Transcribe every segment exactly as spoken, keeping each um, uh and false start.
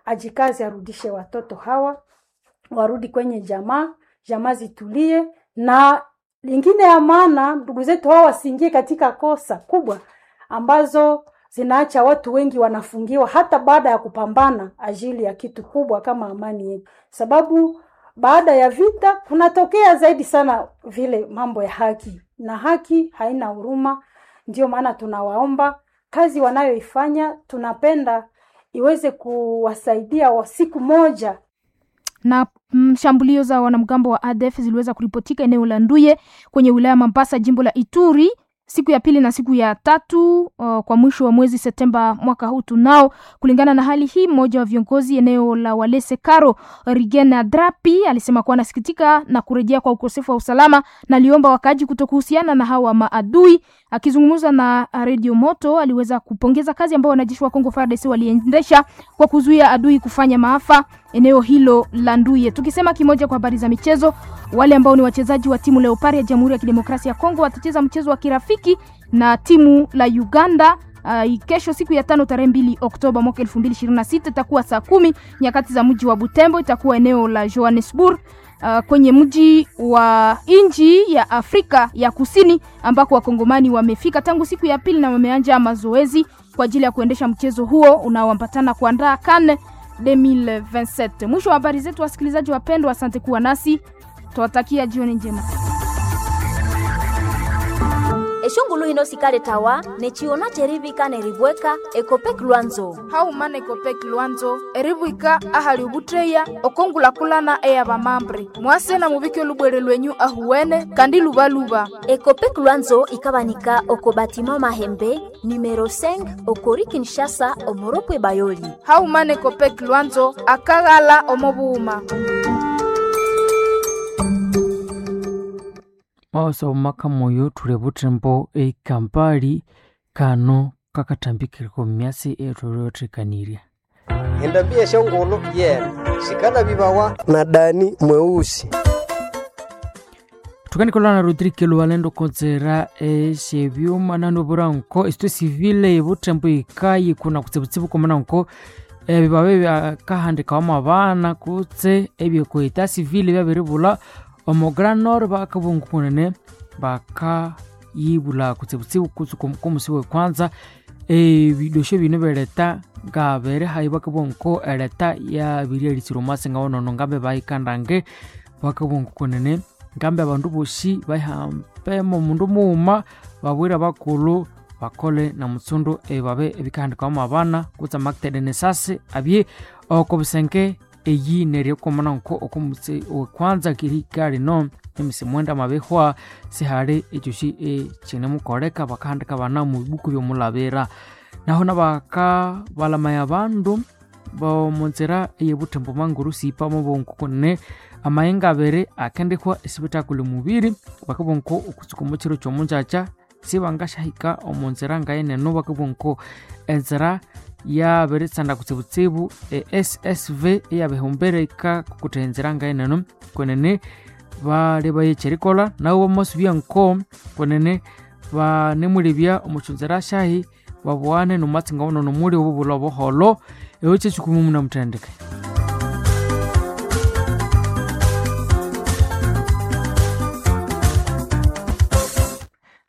ajikaze arudishe watoto hawa warudi kwenye jamaa, jamaa zitulie. Na lingine ya maana, ndugu zetu hawa wasiingie katika kosa kubwa ambazo zinaacha watu wengi wanafungiwa hata baada ya kupambana ajili ya kitu kubwa kama amani yetu, sababu baada ya vita kunatokea zaidi sana vile mambo ya haki, na haki haina huruma. Ndio maana tunawaomba kazi wanayoifanya, tunapenda iweze kuwasaidia wa siku moja na shambulio za wanamgambo wa A D F ziliweza kuripotika eneo la Nduye kwenye wilaya Mambasa, jimbo la Ituri, siku ya pili na siku ya tatu uh, kwa mwisho wa mwezi Septemba mwaka huu tunao. Kulingana na hali hii, mmoja wa viongozi eneo la Walese Karo Rigena Drapi alisema kuwa anasikitika na kurejea kwa ukosefu wa usalama na aliomba wakaaji kutokuhusiana na hawa maadui. Akizungumza na Radio Moto, aliweza kupongeza kazi ambayo wanajeshi wa Kongo F A R D C waliendesha kwa kuzuia adui kufanya maafa eneo hilo la Nduye. Tukisema kimoja kwa habari za michezo, wale ambao ni wachezaji wa timu Leopard ya Jamhuri ya Kidemokrasia ya Kongo watacheza mchezo wa kirafiki na timu la Uganda uh, kesho siku ya tano tarehe mbili Oktoba mwaka elfu mbili ishirini na sita, itakuwa saa kumi nyakati za mji wa Butembo, itakuwa eneo la Johannesburg uh, kwenye mji wa nchi ya Afrika ya Kusini ambako wakongomani wamefika tangu siku ya pili na wameanza mazoezi kwa ajili ya kuendesha mchezo huo unaoambatana kuandaa CAN elfu mbili ishirini na saba. Mwisho wa habari zetu, wasikilizaji wapendwa, asante kuwa nasi, tuwatakia jioni njema. Eshungulu hino sikale tawa nechiona cherivika neribweka Ekopek Lwanzo haumana Ekopek Lwanzo eribwika ahali ubutreya okongulakulana eya bamambre mwase na mubike olubwere lwenyu ahuwene kandi lubaluba. Ekopek Lwanzo ikabanika oko batima Mahembe numero cinq okori Kinshasa omoropwe Bayoli. Haumana Ekopek Lwanzo akaghala omobuuma. Maosa omaka moyo thuli buthembo eikampali kano kakatambikireko myasi ethuliotthekanirya. Endambi esyongulhu yene sikala bibawa na Dani mweusi. Thukanikholana na Rodrigue Lualendo konzera esyebyuma nanoburanko esitwe civile ebuthembo ikayi kuna kutsibutsibu komananko ebibabe byakahandikawamu abana kutse ebyekweta civile byabiribulha omo Grand Nord bakabungu kunene bakayibula kutsibutsibu kutse komusi wekwanza ebidosho bino beleta ngabere hayi bakabungu eleta yabiryelisira omwasi ngawonono ngambe bayikandange bakabungu kunene ngambe abandu bosi bayihambemo omundu mughuma babwire abakulhu bakole na mutsundu ebibabe ebikahandikawamu abana kutse amakitede nesasi abye oko busenge eyi neryo komana nko okomutse wekwanza kihika lino emisi mwenda mabihwa sihali ekyosi ekinemukoleka bakahandika abana mu bibuku byomulabira. Naho nabaka balamaya abandu bomunzira eyebuthembo manguru sipa mubongo kunene amayenga abiri akendihwa esibithakuli mubiri bakabongo okutsuka omukiro kyomunjakya sibangasyahika omunzira ngayeneno bakabongo enzira yabiritsanda kutsibutsibu e S S V eyabihumbira ikakukutha enzira ngayeneno kwenene bali bayekyerikolha nabo bamasubya nko kwenene banemulebya omukyonzira syahi babughane nomatsi ngawonono muli obubulha obuholho eyo kyekikumi munamuthendeke.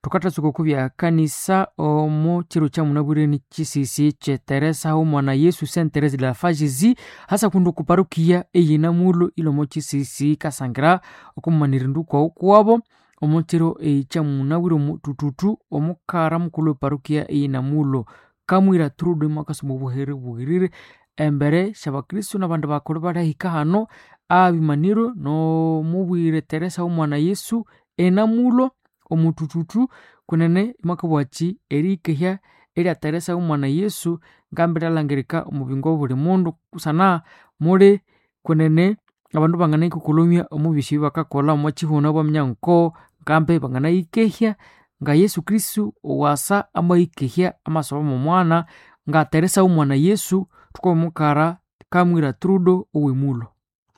Thukathatsuka okubya kanisa omu kiro kya munabwire kisisi kye Teresa omwana Yesu Saint Therese de la Fagisi hasa kundu ku parukia eyinamulo ilomo kisisi kasangira okumumanira kwawu kuwabo omu kiro ekya munabwire omutututu omukara mukulhu eparukia eyinamulo Kamwira Trude mwakasoma obuhere bughirire embere syabakristo nabandi bakulhu balihika hano abimaniro nomubwire Teresa omwana Yesu enamulo omutututu kunene mwakabwaki erikehya erya Teresa omwana Yesu ngambi lyalhangirika omubingo obuli mundu kusana muli kunene abandu banganayikukulumya omubisi bakakolha omwakihuna baminya nko ngambi banganayikehya nga Yesu Kristu owasa amayikehya amasoba momwana nga Teresa omwana Yesu thukomukara Kamwira Trudo owemulo.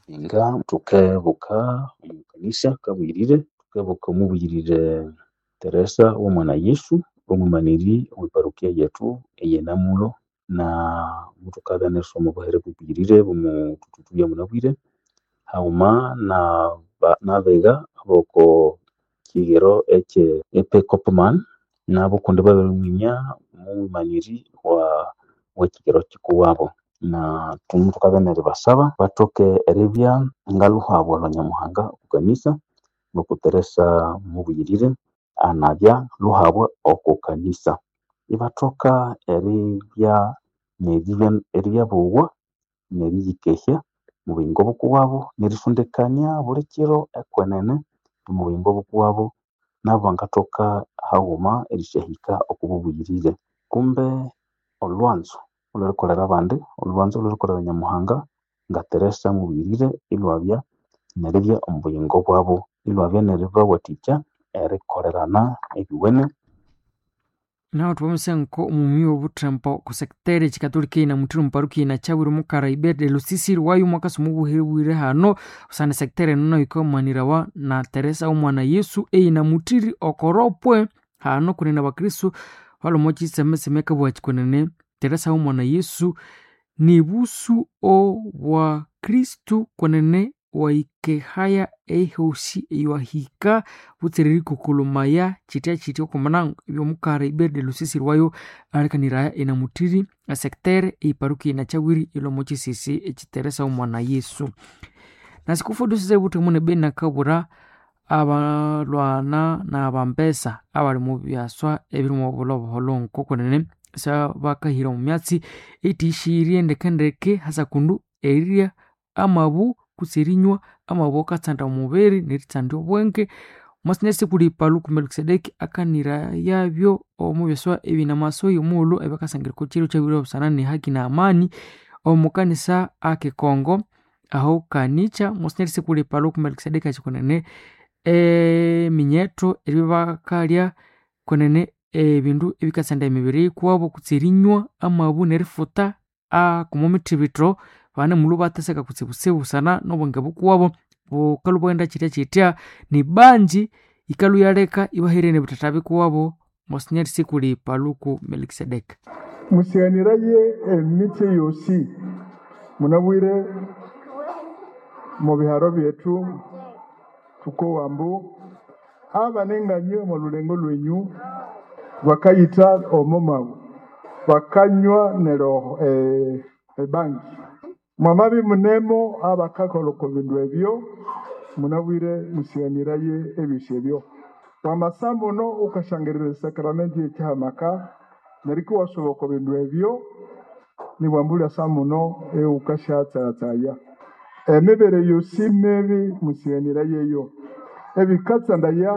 Inga thukebuka omukanisa kabuyirire tukebuka omubuyirire Teresa w'omwana Yesu omwimaniri owe parukia yethu eyenamulo Na muthukabya nerisoma obuhere bubuyirire bwomuthuthuthu byamunabwire haghuma nabigha aboko kighero ekye E P Kopman nabo kundi babiriminya omwimaniri wekighero kikuwabo na muthukabya neribasaba bathoke eribya ngalhuhabwa lwa Nyamuhanga okwa kanisa ngoko Teresa mubuyirire anabya lhuhabwa oko kanisa ibathoka eribya eribya bowa neriyikehya omwa buyingo bukuwabo nerisondekania bulikiro ekwenene omwa buyingo bukuwabo nabo bangathoka haghuma erisyahika oko bubuyirire kumbe olhwanzo olhwerikolera abandi olhwanzo olhwerikolera Nyamuhanga nga Teresa mubuyirire ilhwabya neribya omu buyingo bwabo ilhwabya neribawathikya erikolerana ebyowene. Naho thwamasenko omumyi wobuthembo ku sectari ekikatolika ina muthiri omuparukia ina kyabwire omukara Ibert de Lusisi wayo mwakasa omubuhire hano usana sectari eno nayo yikamanirawa na Teresa omwana Yesu eyina muthiri okoropwe hano kunene abakristu balhwa kyitsemetseme akabugha kyikunene Teresa omwana Yesu nibusu obwa Kristu kunene wayikehaya ehosi eywahika butsira erikokolomaya kyitya kyitya okwamana ebyomukara Ibert de Lusisi wayo alikaniraya enamuthiri esectere eiparukia inakyawiri ilhwa omwa kyisisi ekyi Teresa omwana Yesu. Nasikufu dusise buthemu nebeni nakabura abalhwana nabambesa abali omu byaswa ebiri omu bulho obuholho nkokunene syabakahira omu myatsi ethiyisirye ndekendeke hasa kundu erirya amabu kutse erinywa amabu akatsanda omubiri neritsandya obwenge mwatsi kuli Paluku Melkisedeki akanirayabyo omu byaswa ebinamasoya omughulhu ebyakasangirika okyiro kyabirwe busana ne haki na amani omu kanisa ake Kongo aho kanikya mwatsi kuli Paluku Melkisedeki akyikunene eminyetho eribya kwenene ebindu ebikatsanda emibiri yikuwabo kutse erinywa amabu nerifuta akuma mithibitho banemulhwa batheseka kutsibutsibu busana nobwenge bukuwabo bukalhwa bwaghenda kyitya kyitya nibanji yikalhwa iyaleka ibahererya nebithatha bikuwabo Monsignor Sikuli Paluku Melkisedeki. Musiganiraye emitse yosi munabwire mu biharo byethu tukowa mbu abanenganywe omu lulengo lwenyu bakayitha omo mabu bakanywa nero eh, ebangi mwamabi munemo abakakola oko bindu ebyo munabwire musiganiraye ebyosi ebyo wamasa muno ukashangirira esakramenti ekyihamaka neryo iwasuba oko bindu ebyo nibwambulya sa muno eukashatsayatsaya emibere yosi mibi musiganirayeyo ebikatsandaya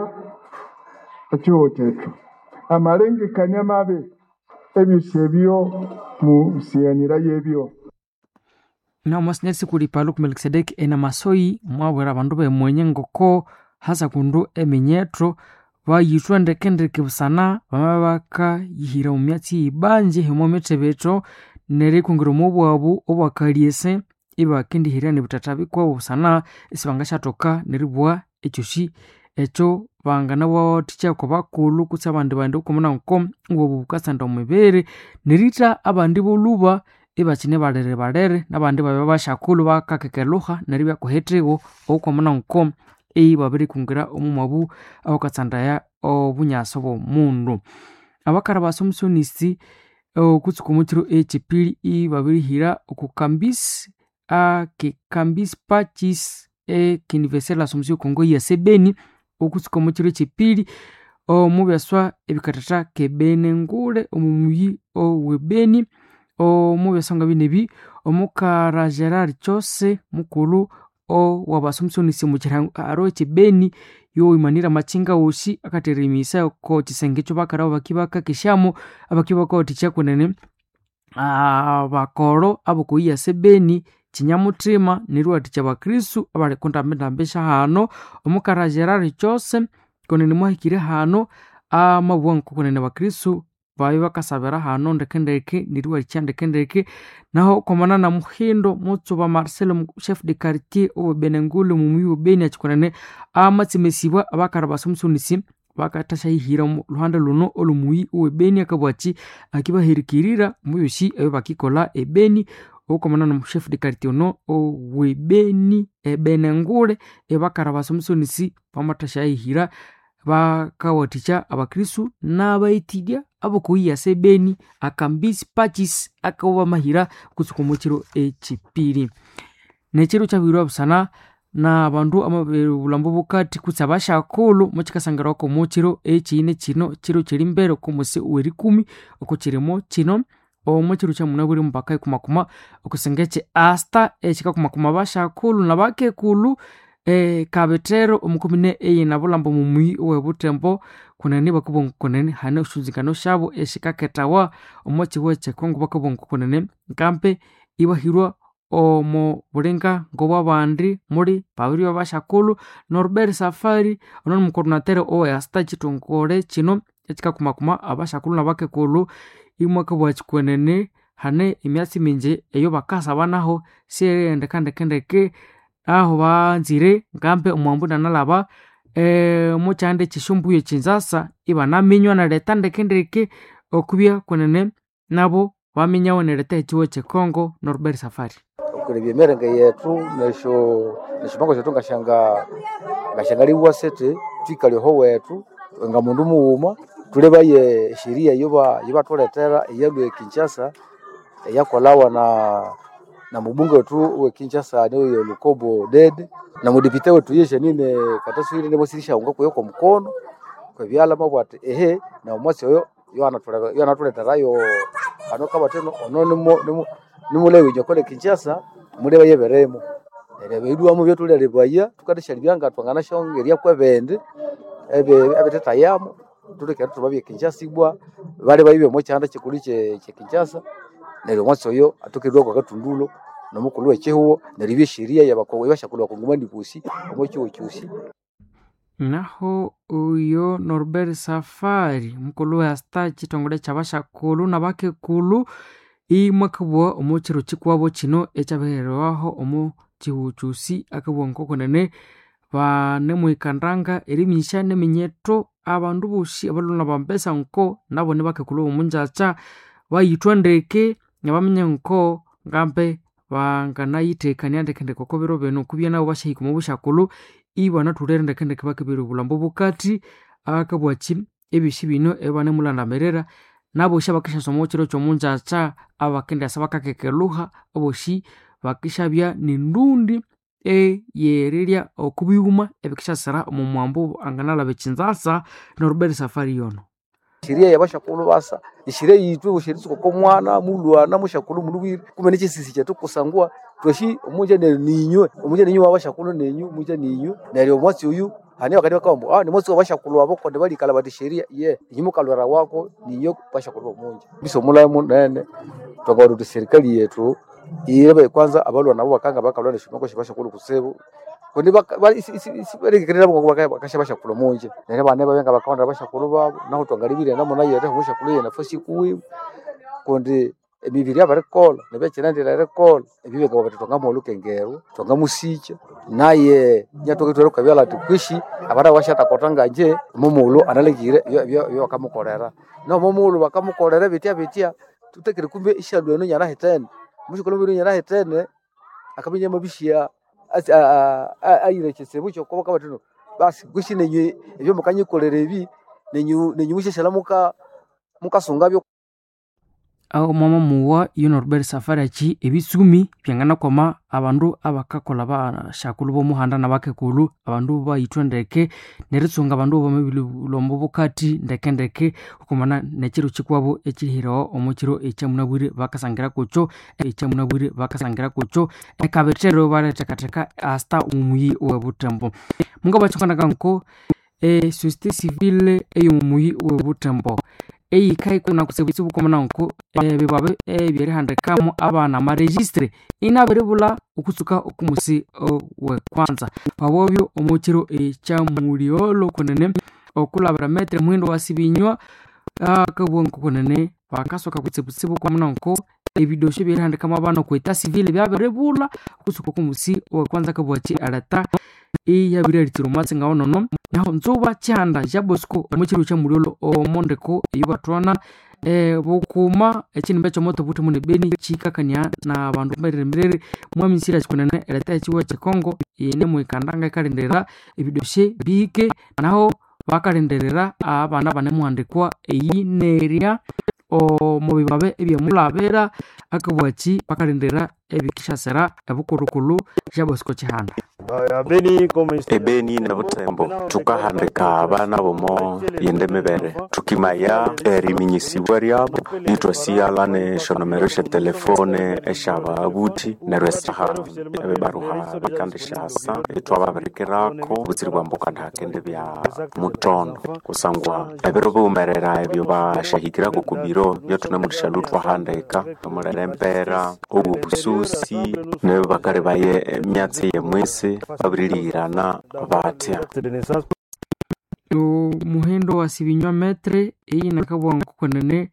ekyihugho kyethu amalengekania mabi ebyosi ebyo musiganirayebyo. Na Monsignor Sikuli Paluku Melkisedeki enamasoi mwabwera abandu bemwenye ngoko hasa kundu eminyetho bayithwa ndekendeke busana bama bakayihira omu myatsi yibanje himo mithibitho nerikungiro omubwabu obwakalyese ibakendihirya nebithatha bikwabo busana isibangasyathoka neribugha ekyosi ekyo banganabawathikya kwa bakulhu kutse abandi bandi okwamana nko obwabu bukatsanda omubiri neritha abandi bolhuba ibakyine balere balere nabandi babya basyakulhu bakakekelhuha neribya kuhithiwo okwamana nko ibabirikungira omumwabu awakatsandaya obunyasi obwomundu. Abakara ba Assumptionist okutsuka omukyiro ekyipili ibabirihira oku kambisi ake kambisi Pacis e Université l'Assomption Congo ya Sebeni okutsuka omukyiro ekyipili omu byaswa ebikathatha kebene ngule omu muyi owe Beni omu byaswa nga binebi omukara Gerard Chose mukulhu owaba Assumptionist omu kyiharo ekye Beni yowimanira amakynga wosi akatheremisa oko kyisenge ekyobakara bakibakakesyamu abakibakawathikya kwenene abakoro abokoyiya Sebeni kyinyamuthima neriwathikya abakristu abali kundambindambi syahano omukara Gerard Chose kwenene mwahikire hano amabugha ngoko kwenene abakristu babya bakasabira hano ndekendeke neriwathikya ndekendeke naho kwamana na Muhindo Mutsuba Marcelo chef de quartier owe Benengulu mumuyi we Beni akyikunene amatsemesibwa abakara ba Assumptionist bakathashayihira omu luhande luno olwomuyi owebeni akabwaki akibahirikirira mubyosi ebyo bakikolha ebeni okomana nomu chef de quartier ono owebeni ebenengule ebakarabasa omusonisi bamathashayihira bakawathikya abakristu n'abaitidya abokoyiyasa ebeni akambisi pachis akawamahira kutsuka omukiro ekyipiri nekiro kyabirwa busana n'abandu amabulhambo bukati kutse abashakulhu mukikasangirawa omukiro ekyine kino kiro kiri mbere okomusi werikumi okukirimo kino omukiro kyamunabwire mupaka ikumakuma okusinga ekyi asta ekikakumakuma abashakulhu nabakekulhu e, kabithero omukomine eyinabulhambo mumuyi owebuthembo kunene bakabugha kunene hane esyonzingano syabo esikakethawa omo kihugho ekyekongo bakabugha kunene nkampe ibahirwa omo bulinga ngobwabandi muli babiri babashakulhu Norbert Safari ono nimukoordinatere owe asta ekithongole kino ekikakumakuma abashakulhu nabakekulhu imwakabugha kwenene hane emyatsi mingi eyo bakasabanaho siyerihendeka ndekendeke aho banzire ngambe omwambu inanalhaba omukyanda ekyesyombulho ekyinzasa ibanaminywa nereta ndekendeke okubya kwenene nabo baminyawo nereta ekihugho ekyekongo Norbert Safari. Okulebya emiringo yethu nesyo nesyomango syethu ngasyanga ngasyangaliwa sithi thwikale oho wethu nga mundu mughuma thulebaye esheria eyoba eyabathulethera eyalhwa e Kinshasa eyakolhawa na na mubunge wethu owe Kinshasa niyo Lukobo Dede na mudepite wethu ye Janine Kataswire nibasirishaunga kuyo kwa mukono kwebyalha mabugha athi ehe na omwatsi oyo yoanathuletherayo hano kabatheno ono nimulebe inywe kole Kinshasa mulebe yeberemo neryo ebirilhwamo ebyathulyalebaya thukathasyalyabya nga thwanganasyongerya kwebindi ebithethayamu thulekere thubabye Kinshasa ibwa balyebayo omo kyanda kyikulhu kye Kinshasa neryo omwatsi oyo athokerilhwa kwa kathundulo nomukulhu wekyihugho neryo ibya esheria yabashakulhu bakongomani bosi omo kyihugho kyosi. Naho oyo Norbert Safari mukulhu we asta ekithongole kyabashakulhu nabakekulhu imwakabugha omo kiro kikuwabo kino ekyabihererwaho omo kihugho kyosi akabugha ngokunene banemuhikandanga eriminyisya neminyetho abandu bosi abalhwe nabambesa nko nabo nibakekulhu bomungyakya bayithwa ndeke nabaminya nko ngambe banganayithekania ndekendeke oko biro bino okubya nabo basyahika omo busyakulhu ibanathulere ndekendeke bakibere obulhambo bukati akabwaki ebyosi bino ebanemulandamirira nabosi abakasyasoma omukiro kyomungyakya abakendyasa bakakekelhuha abosi bakisyabya nendundi eyerirya okubighuma ebikasyasira omo mwambo anganalhaba ekyinzasa Norbert Safari yono. Sheria yabashakulhu basa esheria yithu eritsuka oko mwana mulhwana mushakulhu mulhubwire kumbe nekyisisi kyethu kusangwa thwasi omunja neryo ninywe omunja ninywe wabashakulhu nenyu munja ninywe neryo omwatsi oyu hane bakandi bakabugha ambu ah nimwatsi wabashakulhu abo kundi balikalha bathi sheria ye inyu mukalhwera wako ninyo bashakulhu bomunja mbisa omulame munene twangabugha thuthi serikali yethu yirebe kwanza abalhwa nabo bakanga bakalhwa nesyomango syabashakulhu kutsibu kundi isibalengekania bakasya bashakulhu omunja neryo abana babya ngabakawandira abashakulhu babu nahu twangalibirye namuna yethu omushakulhu yenafasi kuwiwe kundi emibiri yabirikolha nebyakyighana erikolha ebyo byangabugha bithi twangamuha olhukengerwa twangamusikya naye inyathokithwera okwabyalha athi kwishi abandu abasyathakotha ngangye omomughulhu analengire ebyabakamukolera nomomughulhu bakamukolera bitya bitya thutakire kumbe isyalhwa eno inyanahithene omushakulhu amabirya inyanahithene akabya inyamabisya ayira ekyitsibu kyokwa bakabugha bathi basi kwishi nenywe ebyamukanyikolera ebi nenyu nenyu musyashalha muka mukasungabyo. Aho mwama muwa iyo Norbert Safari achi ebitsumi byanganakwama abandu abakakolha bashakulhu bomuhanda nabakekulhu abandu bayithwa ndeke neritsunga abandu bamabiri bukati ndekendeke okumana nekiro kikwabo ekihirawo omo kiro ekyamunabwire bakasangira kukyo ekyamunabwire bakasangira kukyo ekabithero balethekatheka asta omuyi owebuthembo mungabakyikanaka nko e société civile eyomumuyi owebuthembo eyikayikuna kutsibu komana nko ebibwabe ebyerihandikamo abana amaregistre inabiribulha okutsuka okumusi owekwanza pabobyo omukiro ekyamuliolo kunene okulabira metre muhindo wasibinywa akabugha nko kunene bakasoka kutsibutsibu komana nko ebidosho ebyerihandikamo abana okweta civile byabiribulha okutsuka okumusi owekwanza akabugha ki aleta iyabirialitsira omwatsi ngawonono naho nzuba chihanda ja Bosco omuchiro cha mulyolo omondeko eyibathwana e, bukuma echinimba ekyomoto buthemu nebeni chikakania na bandu mberere mwamisira chikunene ereta echiwa chekongo ine mwikandanga ikalindirira ebidoshe bihike naho bakalindirira abana banemuhandikwa eyinerya omubibabe ebyemulabira akabwachi bakalindirira ebikishasira ebukulukulu ja Bosco Chihanda. Ebeni ne Butembo tukahandika abana bomo yende mibere tukimaya eriminyisibwa ryabo nitwasiyala ne shonomero sha telefone eshababuthi neryo esaha ebibaruha bikandishasa itwababirikirako butsiri bwambuka ndahakende bya mutondo kusangwa ebiro biwumerera ebyo bashahikirako ku biro byotunemulishalu twahandika omulere empera obwo bususi nebyo bakali baye emyatsi yemwisi babirilihirana batya. Omuhendo wa sibinywa metre eyi nakabwa nkukonene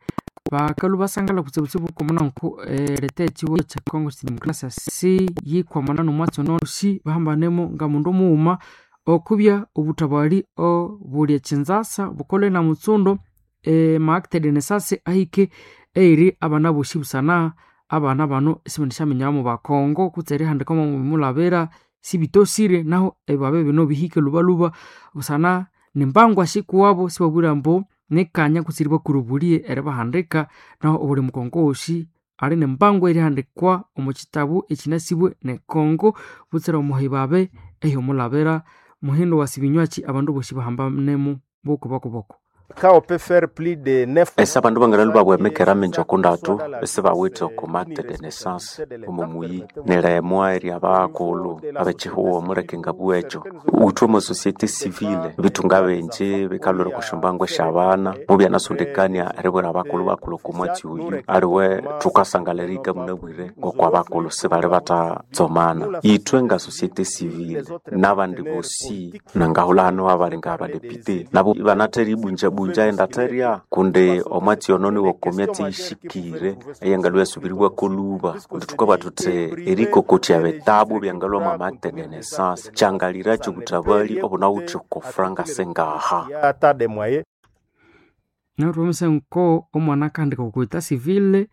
bakalu basangala kutsibutsibu komona nku ereta ekiwo kya Congo Democracy si yikwamana nomwatsi ono si bahambanemo nga mundu mughuma okubya obutabali obuli ekinzasa bukole na mutsundo e, maacte de naissance ahike eiri abana bosi busana abana bano sibanishaminyamo bakongo kutse erihandika mumulabira sibitosire naho ebabe bino bihike lubaluba busana nimbangwa shikuwabo sibabwira mbu nikanya kutsiri bakurubulie eribahandika naho obuli mukongo wosi ali nembango erihandikwa omu kitabu ekinasibwe nekongo butsira omuhibabe ehyomulabira muhindo wa sibinywachi abandu bosi bahambanemu bokubakuboko. Ese abandu bangalali babwemekera minji okundatu esibawithe oku acte de naissance omu muyi nilemwa erya bakulhu abekihuho omuleke ngabugha ekyo withe omo societe civile bitunga bingi bikalhwira okwa syombango esyabana mubyanasondekania eribwira abakulhu bakulhu oku mwatsi oyu aliwe thukasangala erihika munabwire ngokwa abakulhu sibali bathatsomana ithwe nga societe civile nabandi bosi nangahulha hano abali nga abadepite nabo ibanathera ibunja bunja endatherya kundi omwatsi ono niwo myatsi yishikire eyangalwa yasubiriwako luba kundi thukabugha thuthi erikokotya bitabu byangalwa mwa acte de naissance kyangaliracho obutabali obunawithe oko franga singaha. Neryo nko omwana akahandika okwa civile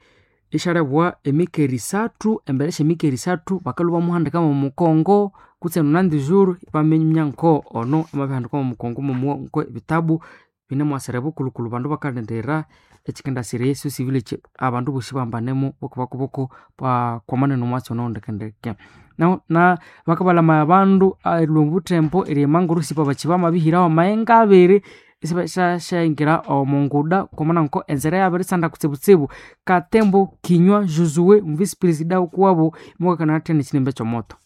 ishalebwa emikeri isathu embere syemikeri isathu bakalhwa bamuhandika mwomukongo kutse nonandi juru ibaminya nko ono amabihandikwa mwomukongo mwomuwa nko ebitabu binemwasira bukulukulu bandu bakalindirira ekikendasira esyo civile abandu bosi bambanemo bokubakuboko bakwamana nomwatsi ono ndekendeke. Naho na bakabalamaya abandu erilhwa omubuthembo eryemanguru sipa bakiba bamabihiraho amayenga abiri isyasyingira omunguda kwamana nko enzira yabirisanda kutsibutsibu. Katembo Kinywa Josue vice president wukuwabo mukakana athya nekinimba ekyomoto.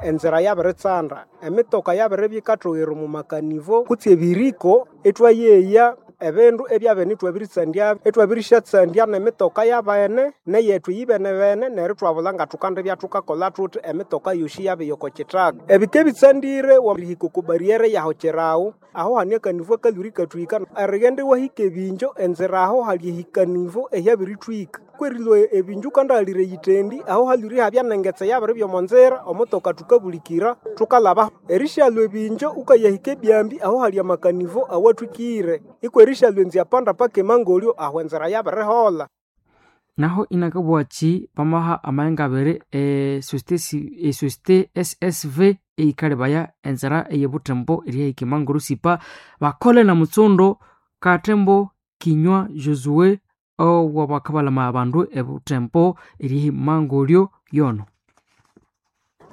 Enzira yabiritsanda emitoka yabiribya yikathoghera omu makanivo kutse ebiriko ithwayeya ebindu ebyabene ithwabiritsandya ithwabirisyatsandya nemitoka yabene neyethu yibenebene neryo ithwabulha ngathukandibya thukakolha thuthi emitoka yosi yabya oko kithaka. Ebika ebitsandire wamirihika oko barriere yaho kirawu aho hane akanivo akalhwire ikathwika erighenda iwahika ebinjo enzira aho hali ehikanivo ehyabirithwika kwerilwa ebinju ukandahalire eyitendi aho halwire ihabya nengetse yabiribya omo nzira omutoka thukabulikira thukalhaba erishalwa ebinjo ukayahika ebyambi aho hali amakanivo awathwikire ikwerishalwa enziyapanda paka emangolyo aho enzira yabiriholha. Naho inakabughachi bamaha amayenga abiri esociete S S V eyikalebaya enzira eyebuthembo erihika emanguru sipa bakole na mutsundo. Katembo Kinywa Josue owabakabalamaya abandu ebuthembo erihimangolyo yono.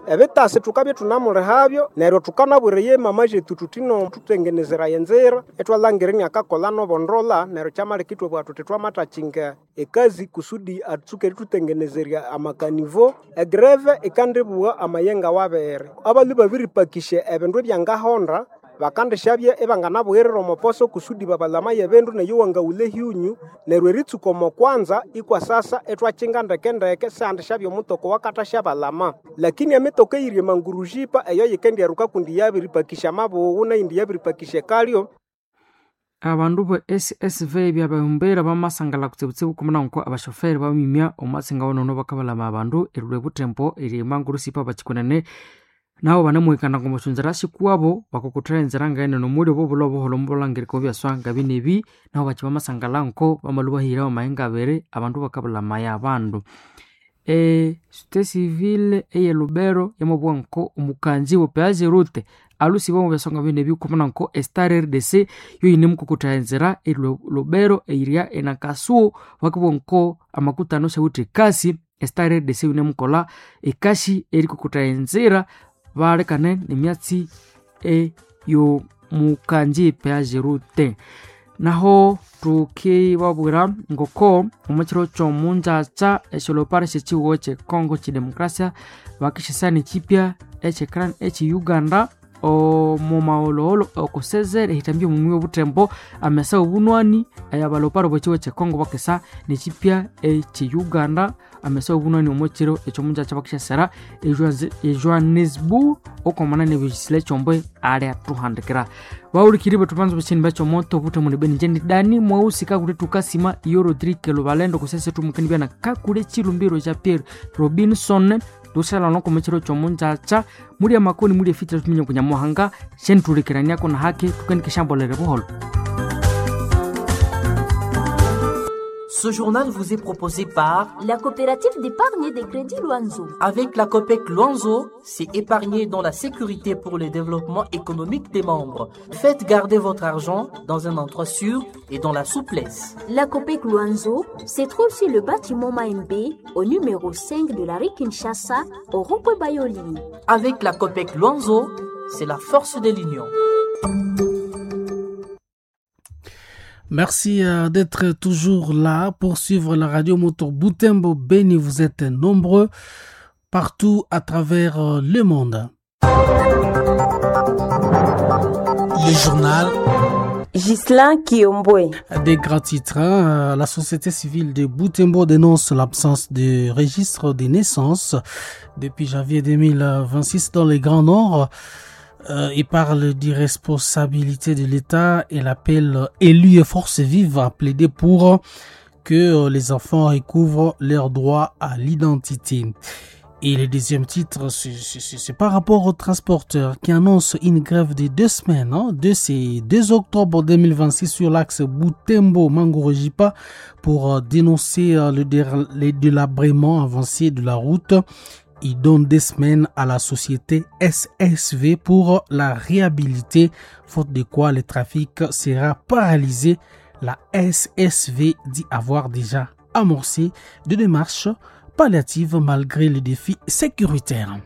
Ebitasi thukabya thunamulihabyo neryo thukanabwira mama zethu thuthi no thutengenezeraya enzira ithwalhangira iniakakolha nobondola neryo kyamaleka ithwabugha thuthi twamathakinga ekazi kusudi atsuke erithutengenezerya amakanivo. Egreve ikandibugha amayenga wabiri abalhwe babiripakisya ebindu ebyangahonda bakandishabya ibanganabughirira omo poso kusudi babalamaye ebindu neyo wangaghulha ehyunyu neryo eritsuka omo kwanza ikwasasa ithwakinga ndekendeke sihandishabya omutoko wakathasyabalama. Lakini emitoko eyiri emangurujipa eyo yikendyaruka kundi yabiripakisya amabughu neyindi yabiripakisya ekalyo. Abandu be S S V byabahumbera bamasangala kutsibutsibu kumuna nko abashoferi bamimya omwatsi ngawonono bakabalama abandu erilhwa ebuthembo eryemanguru sipa bakikunene Nabo banamuhikana ngomusyonzera sikuwabo bakokothera enzira ngaene nomuli obo obulho obuholho mubulhangirika obyaswa ngabinebi nabo bakyi bamasangala nko bamalhwa bahira bamahinga abiri abandu bakabulha amaya abandu. E société civile eye Lubero yamabugha nko omukanzi we peage route alusiba omu byaswa ngabinebi kwamana nko e Star R D C yoyinemukokotha enzira e Lubero eyirya enakasuo bakabugha nko amakutano syawithe ekasi e Star R D C yinemukolha ekasi erikokotha enzira balekane nemyatsi eyomukanji peage route. Naho tukibabwira ngoko omukiro kyomungyakya esyolopari syekihugo kye Congo kyidemokrasia bakisisana ekyipya ekyekran ekye Uganda omu maghulhughulhu okusezera ehithambya omumwi obuthembo amesa obunwani abalopari bokihugo kye Congo bakesa nekyipya ekye Uganda amesa obunwani omukiro ekyomungyakya bakisasira e Johannesburg okwamana nebisile ekyombwe ali athuhandikira. Bawulikiri bethu banza buchini bakyomoto obuthemu nibeni nje dani mweusi kakule tukasima iyo Rodrigue Lubalendo kusese tumukeni byana kakule chilumbiro cha Pierre Robinson tusala noko mukiro kyomungyakya muli amakoni muli efitira tuminye kunyamuhanga shenithulikiraniako na haki tukenikishambolere buholo. Ce journal vous est proposé par la coopérative d'épargne et de crédit Luanzo. Avec la COPEC Luanzo, c'est épargner dans la sécurité pour le développement économique des membres. Faites garder votre argent dans un endroit sûr et dans la souplesse. La COPEC Luanzo se trouve sur le bâtiment Maembe, au numéro cinq de la rue Kinshasa, au rond-point Bayoli. Avec la COPEC Luanzo, c'est la force de l'union. Merci d'être toujours là pour suivre la radio Moto Butembo Beni. Vous êtes nombreux partout à travers le monde. Le journal Ghislain Kiombwe. Des grands titres, hein. La société civile de Butembo dénonce l'absence de registre des naissances depuis janvier deux mille vingt-six dans le Grand Nord. Euh, il parle d'irresponsabilité de l'État et l'appel élus et forces vives à plaider pour que les enfants recouvrent leur droit à l'identité. Et le deuxième titre, c'est, c'est, c'est par rapport aux transporteurs qui annoncent une grève de deux semaines, hein, de ces deux octobre deux mille vingt-six sur l'axe Butembo-Mangurejipa pour dénoncer le, dé, le délabrement avancé de la route. Il donne des semaines à la société S S V pour la réhabiliter, faute de quoi le trafic sera paralysé. La S S V dit avoir déjà amorcé des démarches palliatives malgré les défis sécuritaires.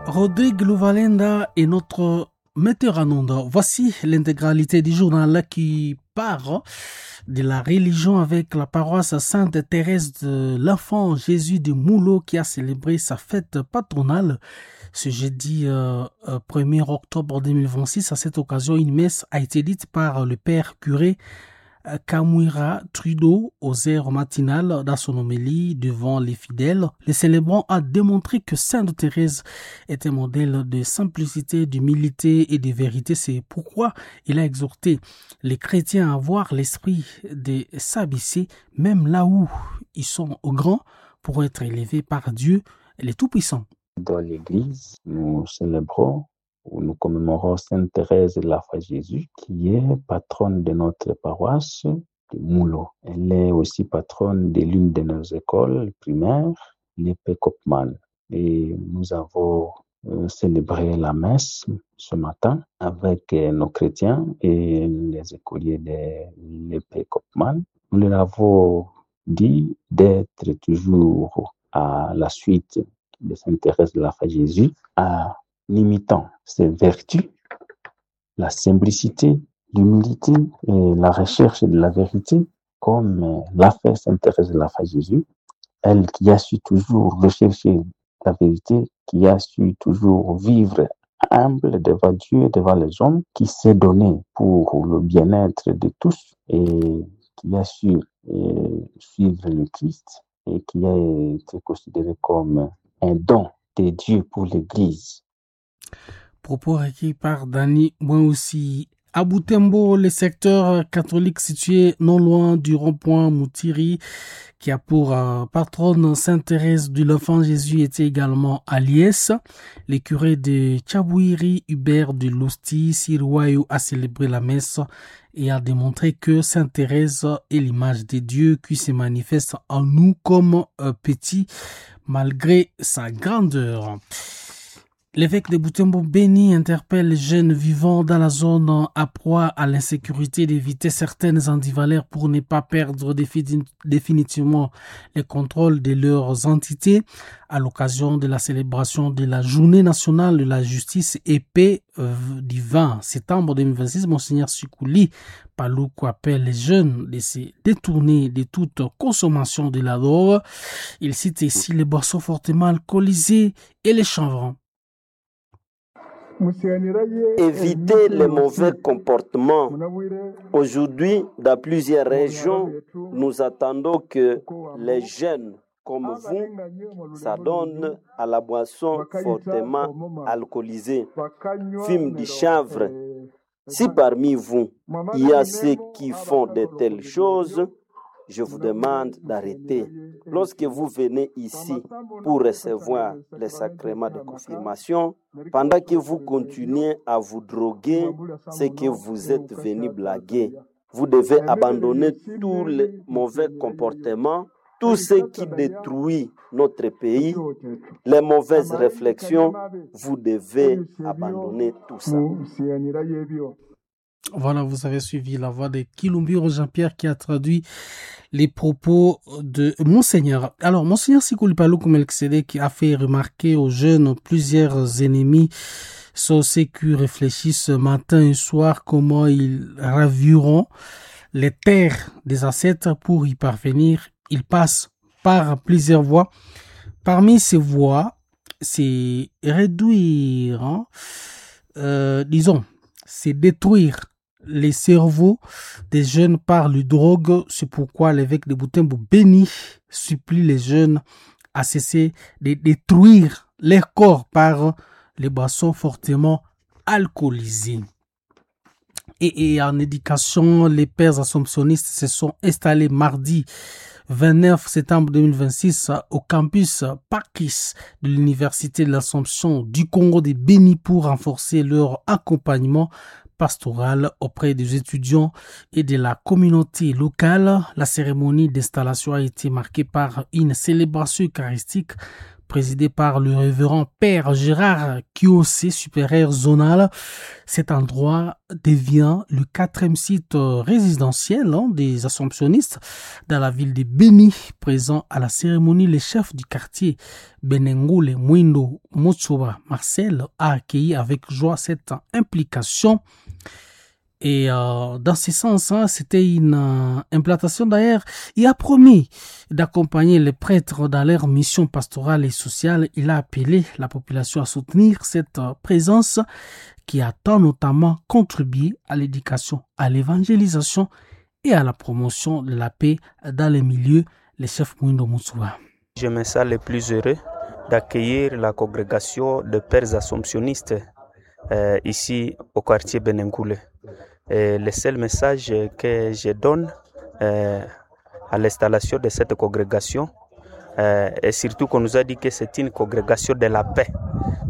Rodrigue Louvalenda est notre metteur en onde. Voici l'intégralité du journal qui part de la religion avec la paroisse Sainte Thérèse de l'Enfant Jésus de Moulot qui a célébré sa fête patronale ce jeudi euh, premier octobre deux mille vingt-six. À cette occasion, une messe a été dite par le père curé Kamwira Trudeau aux heures matinales. Dans son homélie devant les fidèles, le célébrant a démontré que Sainte Thérèse est un modèle de simplicité, d'humilité et de vérité. C'est pourquoi il a exhorté les chrétiens à avoir l'esprit de s'abaisser, même là où ils sont grands, pour être élevés par Dieu, le Tout-Puissant. Dans l'Église, nous célébrons où nous commémorons Sainte Thérèse de l'Enfant Jésus, qui est patronne de notre paroisse de Moulot. Elle est aussi patronne de l'une de nos écoles primaires, l'E P Copman. Et nous avons célébré la messe ce matin avec nos chrétiens et les écoliers de l'E P Copman. Nous leur avons dit d'être toujours à la suite de Sainte Thérèse de l'Enfant Jésus, à imitant ses vertus, la simplicité, l'humilité et la recherche de la vérité, comme l'a fait Sainte Thérèse de l'Enfant Jésus, elle qui a su toujours rechercher la vérité, qui a su toujours vivre humble devant Dieu, devant les hommes, qui s'est donné pour le bien-être de tous et qui a su euh, suivre le Christ et qui a été considéré comme un don de Dieu pour l'Église. Propos requis par Dani Mwaoussi. À Butembo, le secteur catholique situé non loin du rond-point Moutiri, qui a pour euh, patronne Sainte Thérèse de l'Enfant Jésus, était également à Liès. Le curé de Tchabouiri, Hubert de Lousti, Sirouayo, a célébré la messe et a démontré que Sainte Thérèse est l'image de Dieu qui se manifeste en nous comme euh, petit malgré sa grandeur. L'évêque de Butembo Beni interpelle les jeunes vivant dans la zone à proie à l'insécurité d'éviter certaines antivaleurs pour ne pas perdre définitivement le contrôle de leurs entités. À l'occasion de la célébration de la Journée nationale de la justice et paix du vingt septembre deux mille vingt-six, Monseigneur Sikouli Paluku appelle les jeunes de se détourner de toute consommation de la drogue. Il cite ici les boissons fortement alcoolisées et les chanvrants. Éviter les mauvais comportements. Aujourd'hui, dans plusieurs régions, nous attendons que les jeunes comme vous s'adonnent à la boisson fortement alcoolisée, fument du chanvre. Si parmi vous, il y a ceux qui font de telles choses, je vous demande d'arrêter. Lorsque vous venez ici pour recevoir les sacrements de confirmation, pendant que vous continuez à vous droguer, c'est que vous êtes venu blaguer. Vous devez abandonner tous les mauvais comportements, tout ce qui détruit notre pays, les mauvaises réflexions, vous devez abandonner tout ça. Voilà, vous avez suivi la voix de Kilumbiro Jean-Pierre qui a traduit les propos de Monseigneur. Alors, Monseigneur Sikouli Paluku Melkisedek a fait remarquer aux jeunes plusieurs ennemis sont ceux qui réfléchissent matin et soir comment ils raviront les terres des ancêtres pour y parvenir. Ils passent par plusieurs voies. Parmi ces voies, c'est réduire, hein, euh, disons, c'est détruire les cerveaux des jeunes par le drogue. C'est pourquoi l'évêque de Butembo Beni supplie les jeunes à cesser de détruire leur corps par les boissons fortement alcoolisées. Et, et en éducation, les pères assomptionnistes se sont installés mardi vingt-neuf septembre deux mille vingt-six au campus Parkis de l'Université de l'Assomption du Congo de Beni pour renforcer leur accompagnement pastoral auprès des étudiants et de la communauté locale. La cérémonie d'installation a été marquée par une célébration eucharistique présidée par le révérend Père Gérard Kiossé, supérieur zonal. Cet endroit devient le quatrième site résidentiel hein, des Assomptionnistes dans la ville de Beni. Présent à la cérémonie, le chef du quartier Benengole Mwindo Motsoba Marcel a accueilli avec joie cette implication. Et euh, dans ce sens, hein, c'était une euh, implantation d'ailleurs. Il a promis d'accompagner les prêtres dans leur mission pastorale et sociale. Il a appelé la population à soutenir cette euh, présence qui a tant notamment contribué à l'éducation, à l'évangélisation et à la promotion de la paix dans les milieux. Les chefs Mwindo Moussouba. Je me sens le plus heureux d'accueillir la congrégation de pères assomptionnistes euh, ici au quartier Benengoule. Et le seul message que je donne euh, à l'installation de cette congrégation, euh, et surtout qu'on nous a dit que c'est une congrégation de la paix.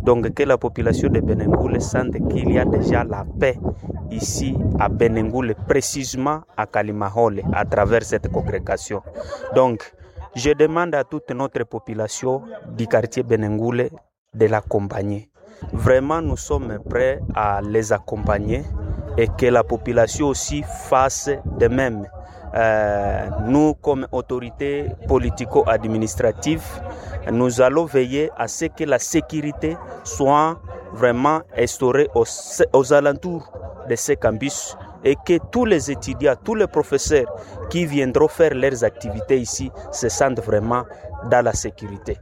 Donc que la population de Benengoule sente qu'il y a déjà la paix ici à Benengoule, précisément à Kalimahole, à travers cette congrégation. Donc je demande à toute notre population du quartier Benengoule de l'accompagner. Vraiment, nous sommes prêts à les accompagner et que la population aussi fasse de même. Euh, nous, comme autorités politico-administratives, nous allons veiller à ce que la sécurité soit vraiment instaurée aux, aux alentours de ces campus et que tous les étudiants, tous les professeurs qui viendront faire leurs activités ici se sentent vraiment dans la sécurité.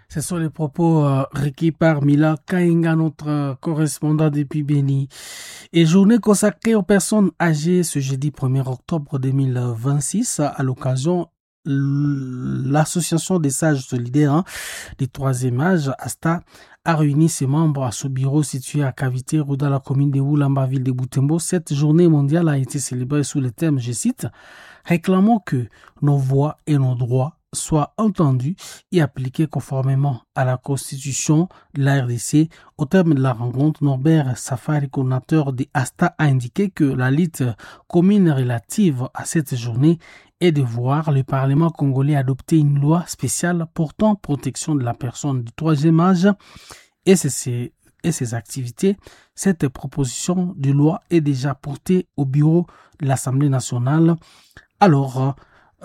Ce sont les propos euh, requis par Mila Kainga, notre euh, correspondant depuis Beni. Et journée consacrée aux personnes âgées ce jeudi premier octobre deux mille vingt-six à l'occasion L'association des sages solidaires hein, du troisième âge, ASTA, a réuni ses membres à ce bureau situé à Cavité, dans la commune de Oulamba, ville de Butembo. Cette journée mondiale a été célébrée sous le thème, je cite, réclamant que nos voix et nos droits soient entendus et appliqués conformément à la Constitution de la R D C. Au terme de la rencontre, Norbert Safari, coordinateur des ASTA, a indiqué que la lutte commune relative à cette journée est de voir le Parlement congolais adopter une loi spéciale portant protection de la personne du troisième âge et ses, et ses activités. Cette proposition de loi est déjà portée au bureau de l'Assemblée nationale. Alors,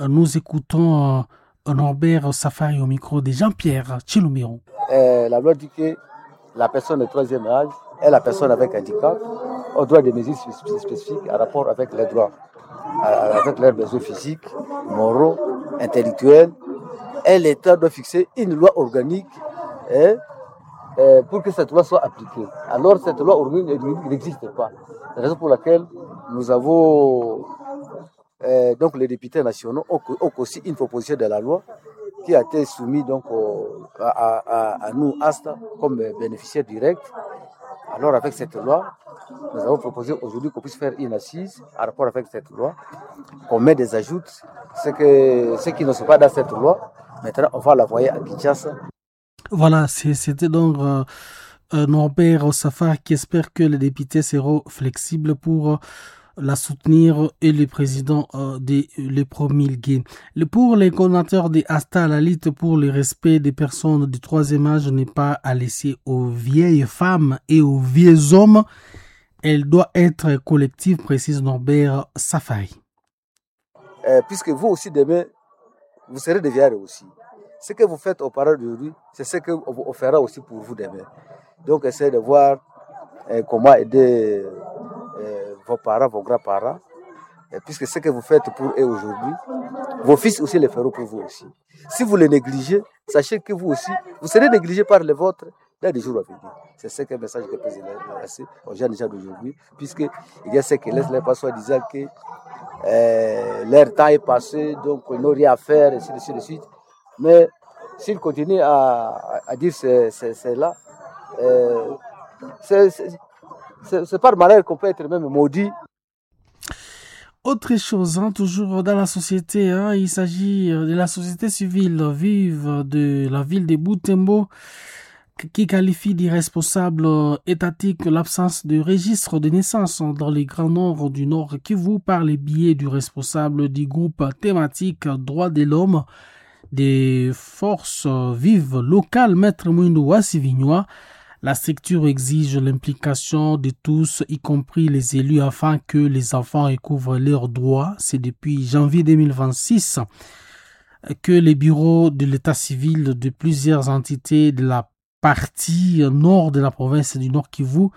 nous écoutons Norbert Safari au micro de Jean-Pierre Chilumiro. Euh, la loi dit que la personne de troisième âge est la personne avec handicap au droit des mesures spécifiques en rapport avec les droits, avec leurs besoins physiques, moraux, intellectuels. Et l'État doit fixer une loi organique hein, pour que cette loi soit appliquée. Alors cette loi organique n'existe pas. La raison pour laquelle nous avons euh, donc les députés nationaux ont, ont aussi une proposition de la loi qui a été soumise donc au, à, à, à nous, ASTA, comme bénéficiaires directs. Alors avec cette loi, nous avons proposé aujourd'hui qu'on puisse faire une assise en rapport avec cette loi, qu'on met des ajouts, ce, que, ce qui ne sont pas dans cette loi. Maintenant, on va l'envoyer à Kinshasa. Voilà, c'était donc euh, Norbert Safar qui espère que les députés seront flexibles pour la soutenir et le président euh, de les promulguer. Pour les coordonnateurs des ASTA, la lutte pour le respect des personnes du troisième âge n'est pas à laisser aux vieilles femmes et aux vieux hommes. Elle doit être collective, précise Norbert Safari. Euh, puisque vous aussi, demain, vous serez des vieillards aussi. Ce que vous faites aux parents d'aujourd'hui, c'est ce qu'on fera aussi pour vous demain. Donc, essayez de voir euh, comment aider euh, vos parents, vos grands-parents, puisque ce que vous faites pour eux aujourd'hui, vos fils aussi le feront pour vous aussi. Si vous les négligez, sachez que vous aussi, vous serez négligés par les vôtres dans les jours à venir. C'est ce que le message que je lancer aux jeunes gens d'aujourd'hui, puisqu'il y a ceux qui laissent les passoires disant que euh, leur temps est passé, donc ils n'ont rien à faire, et ainsi de suite. Mais s'ils continuent à, à dire cela, euh, c'est C'est par malheur qu'on peut être même maudit. Autre chose, hein, toujours dans la société, hein, il s'agit de la société civile vive de la ville de Butembo qui qualifie d'irresponsable étatique l'absence de registre de naissance dans les grands nord du Nord Kivu par les biais du responsable du groupe thématique Droits de l'homme des forces vives locales, Maître Mwindo Wassivinois. La structure exige l'implication de tous, y compris les élus, afin que les enfants recouvrent leurs droits. C'est depuis janvier deux mille vingt-six que les bureaux de l'état civil de plusieurs entités de la partie nord de la province du Nord Kivu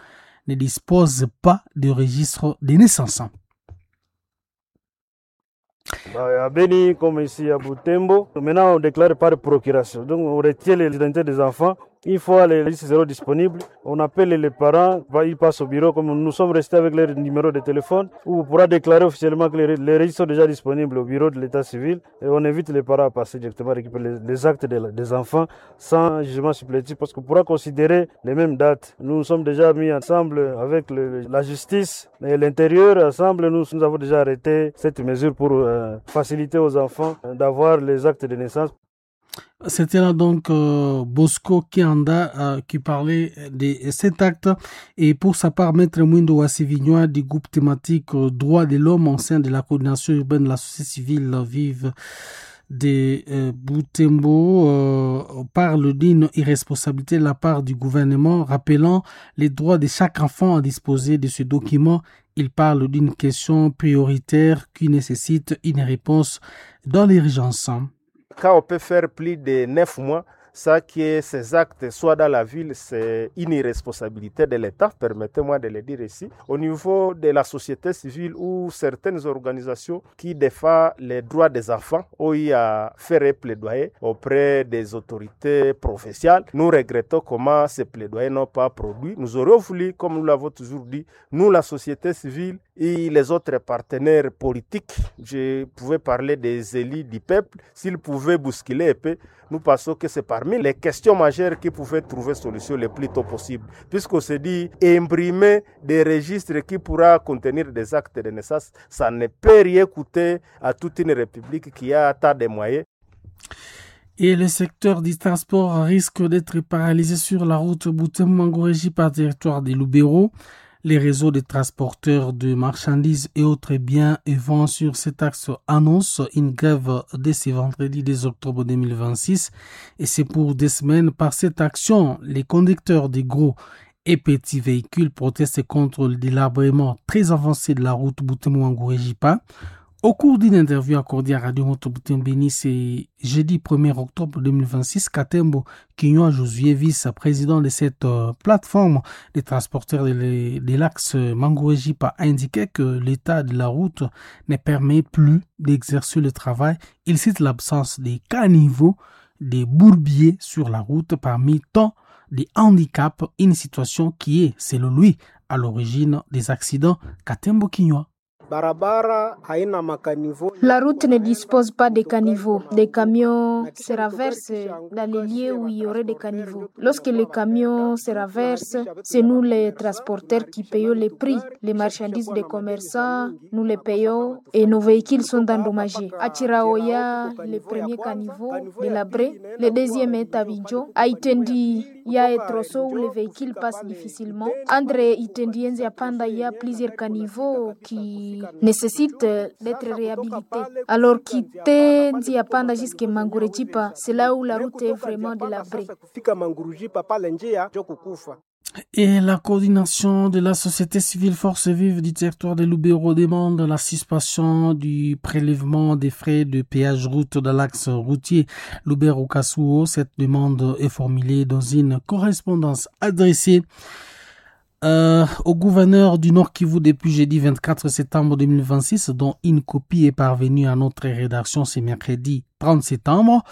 ne disposent pas de registre de naissance. À Beni, comme ici à Butembo, maintenant on déclare par procuration. Donc on retient l'identité des enfants. Une fois les listes seront disponibles, on appelle les parents, ils passent au bureau, comme nous sommes restés avec leur numéro de téléphone, où on pourra déclarer officiellement que les, les registres sont déjà disponibles au bureau de l'état civil et on invite les parents à passer directement récupérer les, les actes de, des enfants sans jugement supplétif parce qu'on pourra considérer les mêmes dates. Nous nous sommes déjà mis ensemble avec le, la justice et l'intérieur, ensemble nous, nous avons déjà arrêté cette mesure pour euh, faciliter aux enfants d'avoir les actes de naissance. C'était là donc euh, Bosco Kianda euh, qui parlait de cet acte. Et pour sa part, Maître Mwindo Wassivinois du groupe thématique euh, Droits de l'homme au sein de la coordination urbaine de la société civile vive de euh, Butembo euh, parle d'une irresponsabilité de la part du gouvernement, rappelant les droits de chaque enfant à disposer de ce document. Il parle d'une question prioritaire qui nécessite une réponse dans l'urgence. Quand on peut faire plus de neuf mois, ça que ces actes soient dans la ville, c'est une irresponsabilité de l'État, permettez-moi de le dire ici. Au niveau de la société civile ou certaines organisations qui défendent les droits des enfants ont eu à faire un plaidoyer auprès des autorités provinciales. Nous regrettons comment ces plaidoyers n'ont pas produit. Nous aurions voulu, comme nous l'avons toujours dit, nous, la société civile, et les autres partenaires politiques, je pouvais parler des élus du peuple, s'ils pouvaient bousculer un peu, nous pensons que c'est parmi les questions majeures qui pouvaient trouver solution le plus tôt possible. Puisqu'on se dit imprimer des registres qui pourra contenir des actes de naissance, ça ne peut rien coûter à toute une république qui a tant de moyens. Et le secteur du transport risque d'être paralysé sur la route Butembo-Manguredjipa par territoire des Lubero. Les réseaux de transporteurs de marchandises et autres biens et vents sur cet axe annoncent une grève dès ce vendredi deux octobre deux mille vingt-six. Et c'est pour des semaines. Par cette action, les conducteurs des gros et petits véhicules protestent contre le délabrement très avancé de la route Butembo-Manguredjipa. Au cours d'une interview accordée à Radio Moto Butembo-Beni, c'est jeudi premier octobre deux mille vingt-six, Katembo Kinywa Josué, vice-président de cette plateforme des transporteurs de, de l'axe Manguredjipa, a indiqué que l'état de la route ne permet plus d'exercer le travail. Il cite l'absence des caniveaux, des bourbiers sur la route parmi tant des handicaps, une situation qui est, selon lui, à l'origine des accidents. Katembo Kinywa. La route ne dispose pas de caniveaux. Des camions se renversent dans les lieux où il y aurait des caniveaux. Lorsque les camions se renversent, c'est nous les transporteurs qui payons les prix. Les marchandises des commerçants, nous les payons et nos véhicules sont endommagés. À Chiraoya, le premier caniveau délabré, le deuxième est à Bidjo. À Itendi, il y a un tronçon où les véhicules passent difficilement. Entre Itendi et Nziapanda, il y a plusieurs caniveaux qui nécessite d'être réhabilité. Alors quitter Nziapanda jusqu'à Manguredjipa, c'est là où la route est vraiment délabrée. Et la coordination de la société civile Force Vive du territoire de Lubero demande la suspension du prélèvement des frais de péage route de l'axe routier Lubero-Kasuo. Cette demande est formulée dans une correspondance adressée Euh, au gouverneur du Nord Kivu depuis jeudi vingt-quatre septembre deux mille vingt-six, dont une copie est parvenue à notre rédaction ce mercredi trente septembre.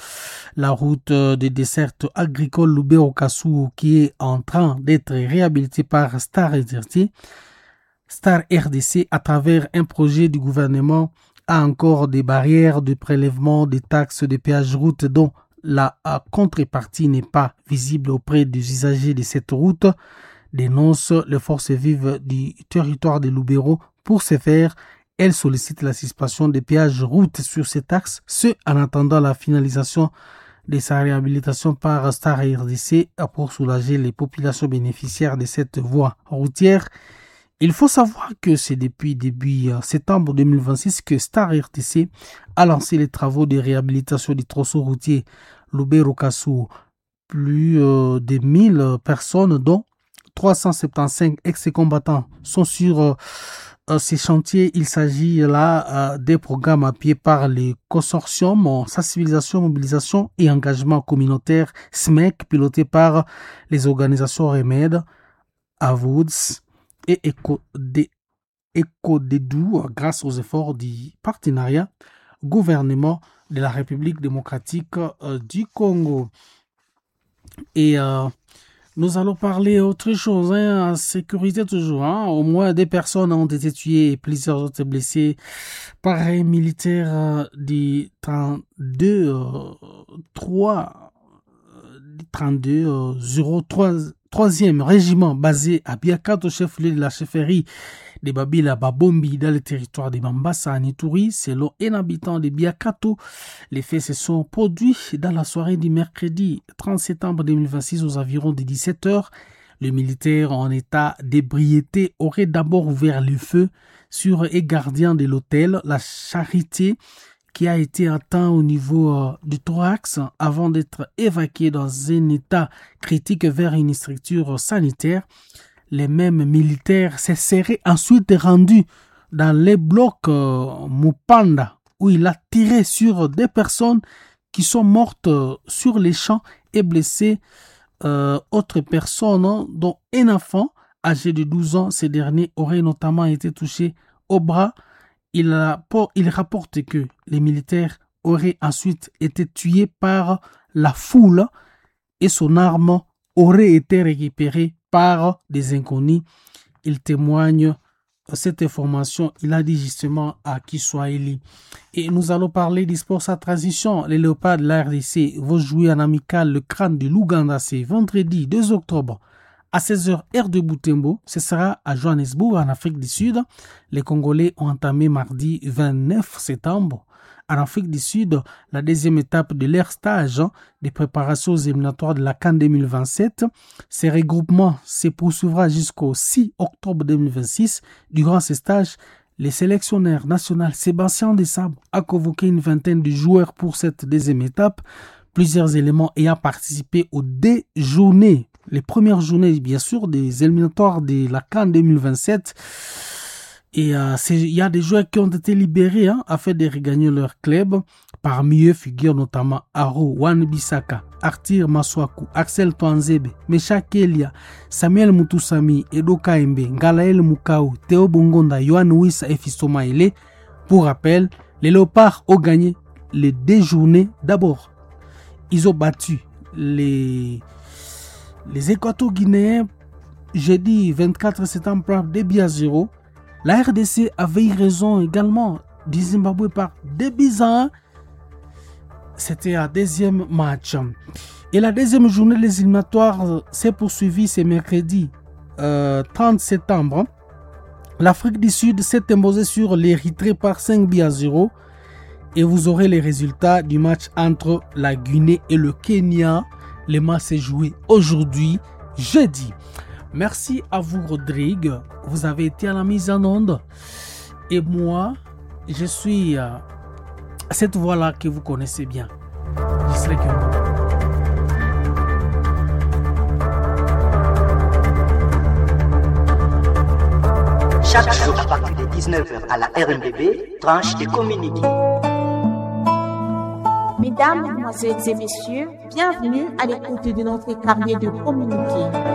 La route de desserte agricole Lubero-Kasuo qui est en train d'être réhabilitée par Star R D C, Star R D C à travers un projet du gouvernement a encore des barrières de prélèvement des taxes de péage route dont la contrepartie n'est pas visible auprès des usagers de cette route, dénonce les forces vives du territoire de Lubero. Pour ce faire, elle sollicite la suspension des péages route sur cet axe, ce en attendant la finalisation de sa réhabilitation par Star R D C pour soulager les populations bénéficiaires de cette voie routière. Il faut savoir que c'est depuis début septembre deux mille vingt-six que Star R D C a lancé les travaux de réhabilitation du tronçon routier Lubero-Kasuo. Plus de mille personnes, dont trois cent soixante-quinze ex-combattants, sont sur euh, ces chantiers. Il s'agit là euh, des programmes appuyés par les consortiums en sensibilisation, mobilisation et engagement communautaire S M E C, piloté par les organisations Remède, Avouds et Ecodedou, grâce aux efforts du partenariat gouvernement de la République démocratique euh, du Congo. Et euh, nous allons parler autre chose, hein, sécurité toujours. Hein. Au moins des personnes ont été tuées et plusieurs autres blessées par un militaire du trente-deux euh, trois, trente-deux, euh, zéro trois, troisième régiment basé à Biakato, chef-lieu de la chefferie de Babila Babombi dans le territoire de Mambasa en Ituri. Selon un habitant de Biakato, les faits se sont produits dans la soirée du mercredi trente septembre deux mille vingt-six aux environs de dix-sept heures. Le militaire en état d'ébriété aurait d'abord ouvert le feu sur un gardien de l'hôtel, la Charité, qui a été atteint au niveau du thorax avant d'être évacué dans un état critique vers une structure sanitaire. Les mêmes militaires se seraient ensuite rendus dans les blocs Mupanda où il a tiré sur des personnes qui sont mortes sur les champs et blessé euh, autres personnes, dont un enfant âgé de douze ans. Ces derniers auraient notamment été touchés au bras. Il, a, il rapporte que les militaires auraient ensuite été tués par la foule et son arme aurait été récupérée par des inconnus. Il témoigne cette information, il a dit justement à Kiswahili. Et nous allons parler du sport sa transition. Les Léopards de la R D C vont jouer en amical le Crâne de l'Ouganda. C'est vendredi deux octobre à seize heures heure de Butembo. Ce sera à Johannesburg en Afrique du Sud. Les Congolais ont entamé mardi vingt-neuf septembre en Afrique du Sud la deuxième étape de leur stage de préparation aux éliminatoires de la CAN deux mille vingt-sept. Ces regroupements se poursuivra jusqu'au six octobre deux mille vingt-six. Durant ces stages, le sélectionneur national Sébastien Desabre a convoqué une vingtaine de joueurs pour cette deuxième étape. Plusieurs éléments ayant participé aux deux journées. Les premières journées, bien sûr, des éliminatoires de la CAN deux mille vingt-sept. Et euh, il y a des joueurs qui ont été libérés hein, afin de regagner leur club. Parmi eux figurent notamment Aro Wan-Bissaka, Arthur Masuaku, Axel Tuanzebe, Meschack Elia, Samuel Mutusami, Edo Kaembe, Ngalael Mukau, Théo Bongonda, Yohan Wissa et Fiston Maele. Pour rappel, les Léopards ont gagné les deux journées d'abord. Ils ont battu les, les Équato-Guinéens jeudi vingt-quatre septembre par deux buts à zéro. La R D C avait eu raison également du Zimbabwe par deux buts à un. C'était un deuxième match. Et la deuxième journée des éliminatoires s'est poursuivie ce mercredi euh, trente septembre. L'Afrique du Sud s'est imposée sur l'Érythrée par cinq buts à zéro. Et vous aurez les résultats du match entre la Guinée et le Kenya. Le match s'est joué aujourd'hui, jeudi. Merci à vous, Rodrigue. Vous avez été à la mise en onde. Et moi, je suis euh, cette voix-là que vous connaissez bien. Je serai que moi. Chaque jour à partir de dix-neuf heures à la R M B B, tranche de communiqué. Mesdames, Mesdemoiselles et Messieurs, bienvenue à l'écoute de notre carnet de communiqué.